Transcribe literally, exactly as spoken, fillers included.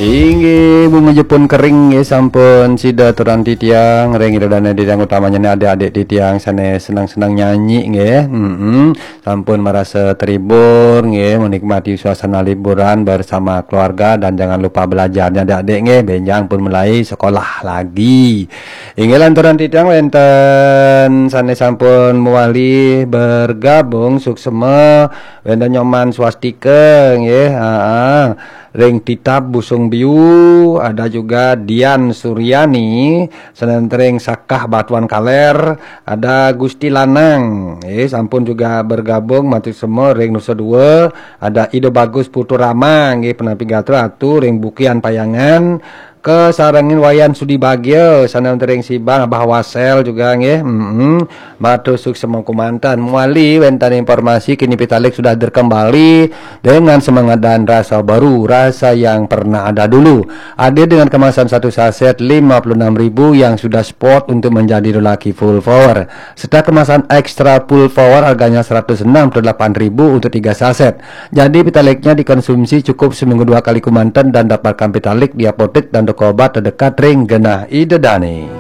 Inggih, bunga jepun kering nggih, sampun sida aturan titiang ring ida dane titiang, utamanya adik-adik titiang sane senang-senang nyanyi nggih. Mm-mm. Sampun merasa terhibur nggih, menikmati suasana liburan bersama keluarga dan jangan lupa belajarnya adik-adik nggih, benjang pun mulai sekolah lagi. Inggih, lanturan titiang wenten sane sampun mewali bergabung, suksema, wenten Nyoman Swastika nggih. Aa. Ring Titap Busung Biu, ada juga Dian Suryani, sane wenten ring Sakah Batuan Kaler, ada Gusti Lanang, eh, sampun juga bergabung, matur suksema ring Nusa Dua, ada Ido Bagus Putu Rama, nggih, penampi gatra atu ring Bukian Payangan, kasarengin Wayan Sudi Bagia, sane wenten ring Sibang, Abah Wasel juga, nggih, mm-mm. Matur suksema kemanten. Mewali wenten informasi, kini Pitalik sudah hadir kembali dengan semangat dan rasa baru, rasa yang pernah ada dulu. Hadir dengan kemasan satu saset lima puluh enam ribu yang sudah spot untuk menjadi lelaki full power, serta kemasan extra full power harganya seratus enam puluh delapan ribu untuk tiga saset. Jadi, Pitaliknya dikonsumsi cukup seminggu dua kali kemanten dan dapatkan Pitalik di apotek dan toko obat terdekat ring genah ida dane.